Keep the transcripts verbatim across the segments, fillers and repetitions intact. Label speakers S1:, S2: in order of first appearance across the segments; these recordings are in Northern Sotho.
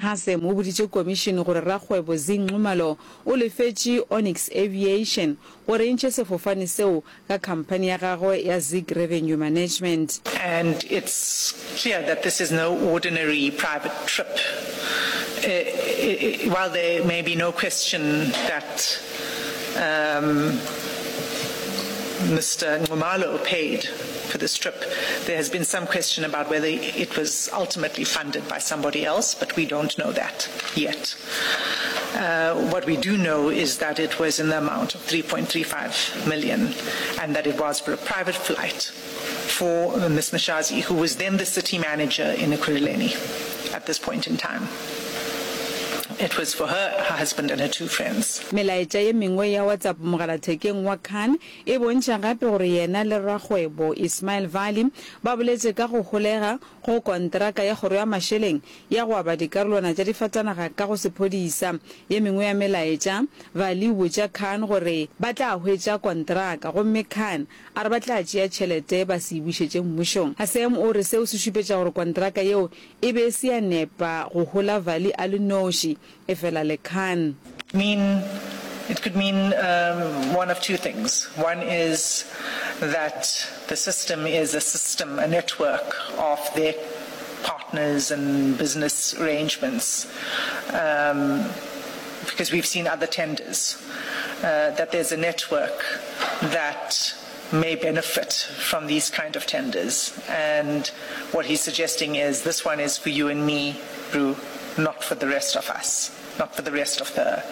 S1: Hassem o boditše komišene gore rakgwebo Zee Nxumalo o lefetše Onyx Aviation gore e ntšhe sefofane seo ka khamphani ya gagwe ya Zig Revenue Management.
S2: And it's clear that this is no ordinary private trip. While there may be no question that um, Mr. Nxumalo paid for this trip, there has been some question about whether it was ultimately funded by somebody else, but we don't know that yet. Uh, what we do know is that it was in the amount of three point three five million and that it was for a private flight for Ms. Mashazi, who was then the city manager in Ekurhuleni at this point in time. It was for her, her husband and her two friends.
S1: Melaetša ye mengwe ya WhatsApp mogalathekeng wa Khan e bontšha gape gore yena le rakgwebo Ismail Vali ba boletše ka go holega go kontraka ya kgoro ya mašeleng ya go aba dikarolwana tša difatanaga ka go sephodisa. Ye mengwe ya melaetša, Vali o botša Khan gore ba tla hwetša kontraka gomme Khan a re ba tla tšea tšhelete ba se e bušetše mmušong. Hassem o re seo se šupetša gore kontraka yeo e be e se ya nepa go hola Vali a le noši, efela le Khan.
S2: Mean, it could mean um, one of two things. One is that the system is a system, a network of their partners and business arrangements, um, because we've seen other tenders, uh, that there's a network that may benefit from these kind of tenders. And what he's suggesting is this one is for you and me, Bru, not for the rest of us, not for the rest of the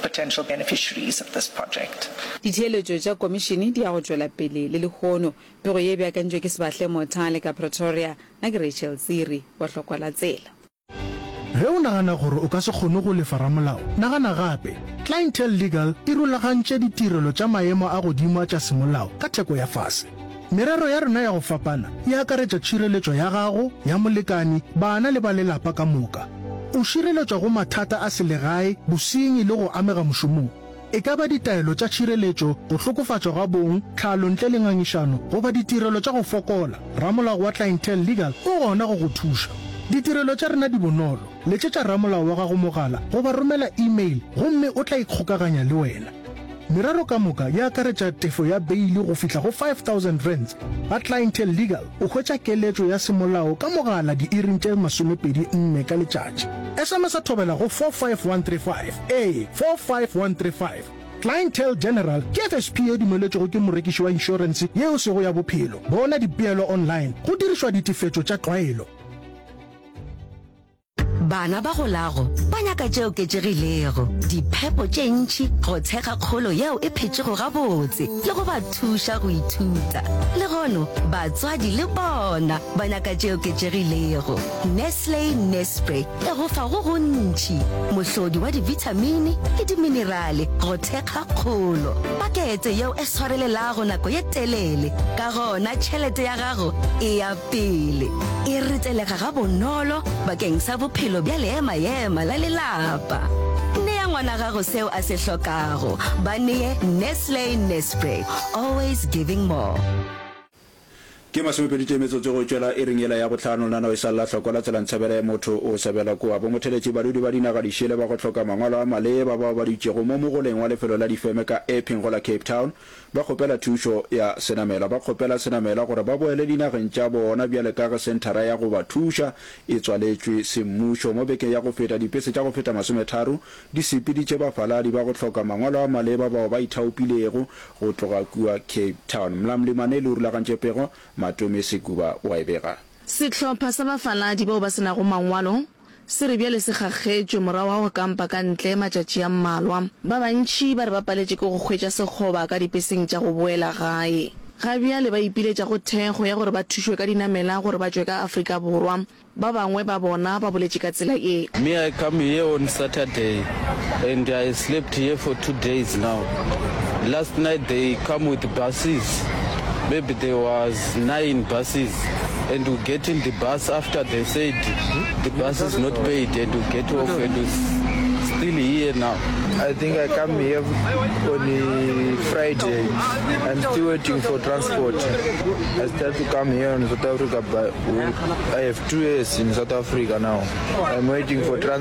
S2: potential beneficiaries of this project.
S1: Ditheeletšo tša komišene di ya go tšwela pele le lehono. Pego ye e beakantšwe ke Sebahle Mothale ka Pretoria. Nna ke Rachel Tsiri wa Hlokwa la Tsela.
S3: Ge o nagana gore o ka se kgone go lefa ramolao, nagana gape. Clientele Legal e rulagantše ditirelo tša maemo a godimo a tša semolao ka theko ya fase. Merero ya rena ya go fapana e akaretša tšhireletšo ya gago, ya molekani, bana le ba lelapa ka moka. O šireletšwa go mathata a selegae, bosenyi le go amega mošomong. E ka ba ditaelo tša tšhireletšo, go hlokofatšwa ga bong, tlhalo ntle le ngangišano, goba ditirelo tša go fokola, ramolao wa Clientele Legal o gona go go thuša. Ditirelo tša rena di bonolo. Letšetša ramolao wa gago mogala goba romela email gomme o tla ikgokaganya le wena. Merero ka moka e akaretša tefo ya beili go fihla go five thousand rands. Ga Clientele Legal o hwetša keletšo ya semolao ka mogala diiring tše masomepedi nne ka letšatši. S M S thobela go four five one three five, ee, four five one three five. Clientele General ke F S P ye dumeletšwego ke morekiši wa inšorense ye e sego ya bophelo. Bona dipeelo online go dirišwa ditefetšo tša tlwaelo.
S4: Bana ba golago ba nyaka tše oketšegilego, diphepo tše ntši go thekga kgolo yeo e phetšego gabotse le go ba thuša go ithuta. Lehono, batswadi le bona ba nyaka tše oketšegilego. Nestle Nespre e go fa go gontši, mohlodi wa dibithamini le diminerale go thekga kgolo. Pakete yeo e swarelelago nako ye telele, ka gona tšhelete ya gago e ya pele. E retelega gabonolo bakeng sa bophelo bja leema-ema la lelapa. Nea ngwana gago seo a se hlokago. Ba nee Nestle Nespre, always giving more.
S5: Ke masomepedi tee metsotso go tšwela iring yela ya bohlano, lenaneo e sa lla hloko la tsela ntshebele motho o sebela kua. Bomotheletši badudi ba dinaga dišele ba go hloka mangwalo a maleba bao ba dutšego mo mogoleng wa lefelo la difeme ka Epping go la Cape Town ba kgopela thušo ya senamelwa. Ba kgopela senamelwa gore ba boele dinageng tša bona bjale ka ge senthara ya go ba thuša e tswaletšwe semmušo. Mo bekeng ya go feta, dipese tša go feta masometharo di sepeditše bafaladi ba go hloka mangwalo a maleba bao ba ithaopilego go tloga kua Cape Town. Mlamli Maneli o rulagantše pego, Matome Sekuba o a e bega.
S6: Sehlopha sa bafaladi bao ba se nago mangwalo se re bjale se kgakgetšwe morago ga go kampa ka ntle matšatši a mmalwa. Ba bantši ba re ba paletše ke go hwetša sekgoba ka dipeseng tša go boela gae. Ga bjale ba ipiletša go thekgo ya gore ba thušwe ka dinamela gore ba tšwe ka Afrika Borwa. Ba bangwe ba bona ba boletše ka tsela ye.
S7: Me I come here on Saturday and I slept here for two days now. Last night they come with buses, maybe there was nine buses and we get in the bus after they said the bus is not paid and we get off and we still here now.
S8: I think I come here on Friday. I'm still waiting for transport. I start to come here in South Africa, but I have two years in South Africa now. I'm waiting for transport.